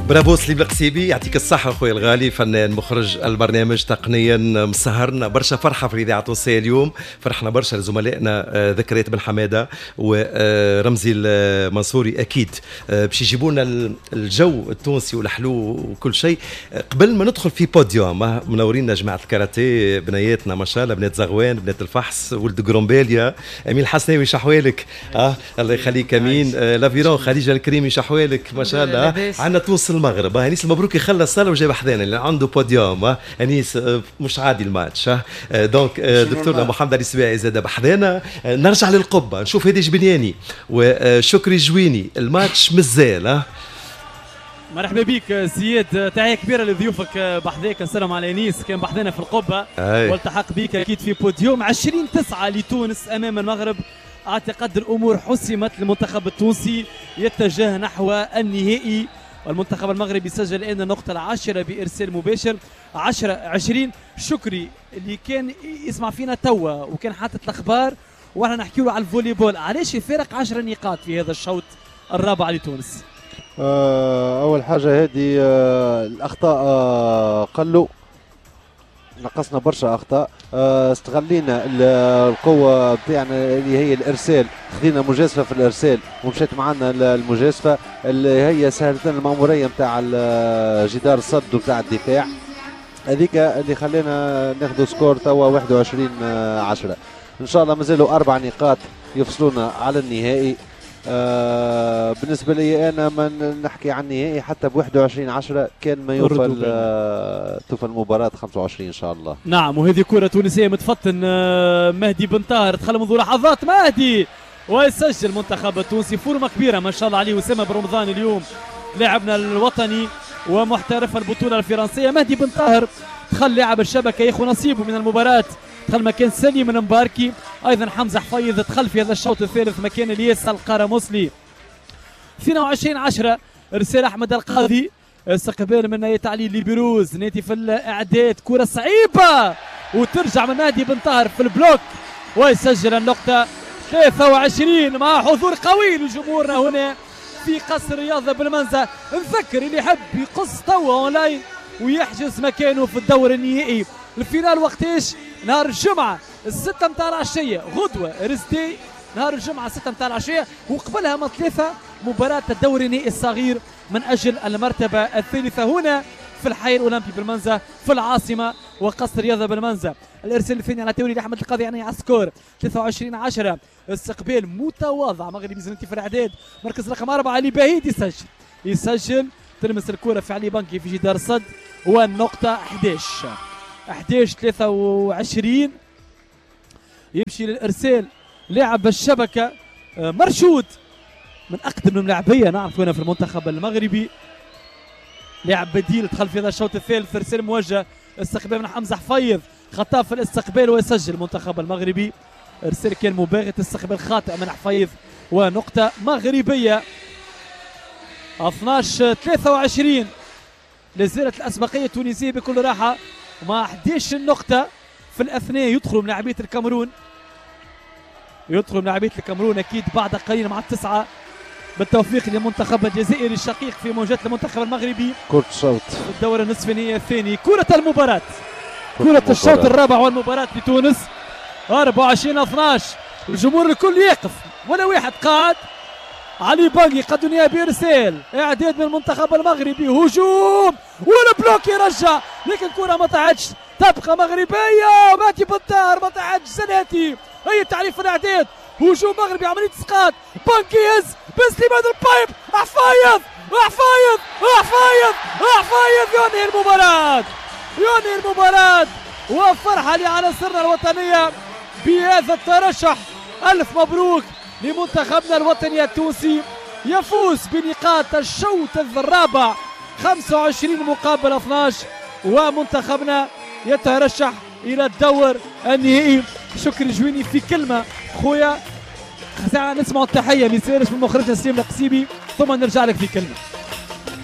برافو سليم القسيبي، يعطيك الصحة خويا الغالي، فنان مخرج البرنامج، تقنيا مسهرنا برشا فرحة في الإذاعة التونسية اليوم، فرحنا برشا لزملائنا ذكريات بن حمادة ورمزي المنصوري، أكيد باش يجيبوا لنا الجو التونسي والحلو وكل شيء. قبل ما ندخل في بوديوم، منورينا جماعة الكاراتيه، بنياتنا ما شاء الله، بنات زغوان، بنات الفحص، ولد قرمباليا، أمين الحسناوي شحوالك، الله يخليك أمين، l'aviron خديجة الكريمي شحوالك ما شاء الله. عندنا تونس المغرب، انيس المبروك يخلص صاله وجاب حذانا اللي عنده بوديوم، انيس مش عادي الماتش. donc دكتورنا محمد علي السباعي زاد بحذانا. نرجع للقبه نشوف هادي جبنياني وشكري جويني، الماتش مازال. مرحبا بك زياد، تحية كبيرة لضيوفك بحذاك، نسلم على انيس كان بحذانا في القبة والتحق بك اكيد في بوديوم. 20-9 لتونس امام المغرب، اعتقد الامور حسمت، المنتخب التونسي يتجه نحو النهائي، والمنتخب المغربي سجل الان النقطة العاشرة بارسال مباشر 10-20. شكري اللي كان يسمع فينا توا وكان حاطط الاخبار واحنا نحكي له على الفولي بول، علاش الفارق 10 نقاط في هذا الشوط الرابع لتونس؟ اول حاجة هذه الاخطاء قلوا، نقصنا برشا اخطاء، استغلينا القوة بتاعنا اللي هي الارسال، خذينا مجازفة في الارسال ومشات معنا المجازفة اللي هي سهلت لنا الماموريه نتاع جدار الصد وبتاع الدفاع، هذيك اللي خلينا ناخذ score توا 21-10. ان شاء الله مازالوا 4 نقاط يفصلونا على النهائي. بالنسبة لي انا ما نحكي عن النهائي حتى ب 21-10 كان ما يوفى توفى المباراة 25 ان شاء الله. نعم، وهذه كره تونسية متفطن، مهدي بن طاهر دخل منذ لحظات، مهدي ويسجل المنتخب التونسي، فورمه كبيرة ما شاء الله عليه. وسامة بن رمضان اليوم لاعبنا الوطني ومحترف البطولة الفرنسية، مهدي بن طاهر دخل لاعب الشبكة ياخذ نصيبه من المباراة، دخل مكان سليم المباركي، ايضا حمزة حفيظ دخل في هذا الشوط الثالث مكان الياس القرموسلي. 22-10 ارسال احمد القاضي، استقبال من نايت علي لبيروز، ناتي في الاعداد، كره صعيبة وترجع من مهدي بن طاهر في ال bloc ويسجل النقطة 23 مع حضور قوي لجمهورنا هنا في قصر الرياضة بالمنزه. نذكر اللي يحب يقص توا اونلاين ويحجز مكانه في الدور النهائي، ال finale وقتاش؟ نهار الجمعة 6 متاع العشية، غدوة رزدي نهار الجمعة 6 متاع العشية، وقبلها ما 3 مباراة الدوري النهائي الصغير من أجل المرتبة الثالثة هنا في الحي الأولمبي بالمنزه في العاصمة وقصر رياضة بالمنزه. الإرسال الثاني على تولي لأحمد القاضي يعني على ال score 23-10، استقبال متواضع مغربي زنتي في الإعداد، مركز رقم 4 علي باهيد يسجل، تلمس الكرة في علي بنكي في جدار الصد، والنقطة 11-23. يمشي للارسال لاعب الشبكة مرشود من اقدم الملاعبيه نعرف هنا في المنتخب المغربي، لاعب بديل دخل في هذا الشوط الثالث، ارسال موجه، استقبال من حمزة حفيظ، خطا في الاستقبال ويسجل المنتخب المغربي. ارسال كان مباغت، استقبال خاطئ من حفيظ ونقطة مغربية. 12-23 لازالت الاسبقيه التونسية بكل راحة مع 11 نقطة. في الأثناء يدخلوا ملاعبية الكاميرون، يدخلوا ملاعبية الكاميرون أكيد بعد قليل مع 9. بالتوفيق للمنتخب الجزائري الشقيق في مواجهة المنتخب المغربي. كرة الشوط في الدورة النصف النهائي الثاني، كرة المباراة، كرة الشوط الرابع والمباراة لتونس. 24-12، الجمهور الكل يقف ولا واحد قاعد. علي بانجي قدنيا بإرسال، إعداد من المنتخب المغربي، هجوم وال bloc يرجع، لكن كرة ما طلعتش، تبقى مغربية. ماتي بن طاهر ما طلعتش، زناتي هي تعريف الإعداد، هجوم مغربي، عملية اسقاط، بانكي يهز بسليمان ال pipe، حفايظ حفايظ حفايظ حفايظ، ينهي المباراة، ينهي المباراة، وفرحة لعناصرنا الوطنية بهذا الترشح. ألف مبروك لمنتخبنا الوطني التونسي، يفوز بنقاط الشوط الرابع 25-12، ومنتخبنا يترشح إلى الدور النهائي. شكري جويني في كلمة خويا، ساعة نسمع التحية ميسالش من مخرجنا سليم القسيبي ثم نرجع لك في كلمة.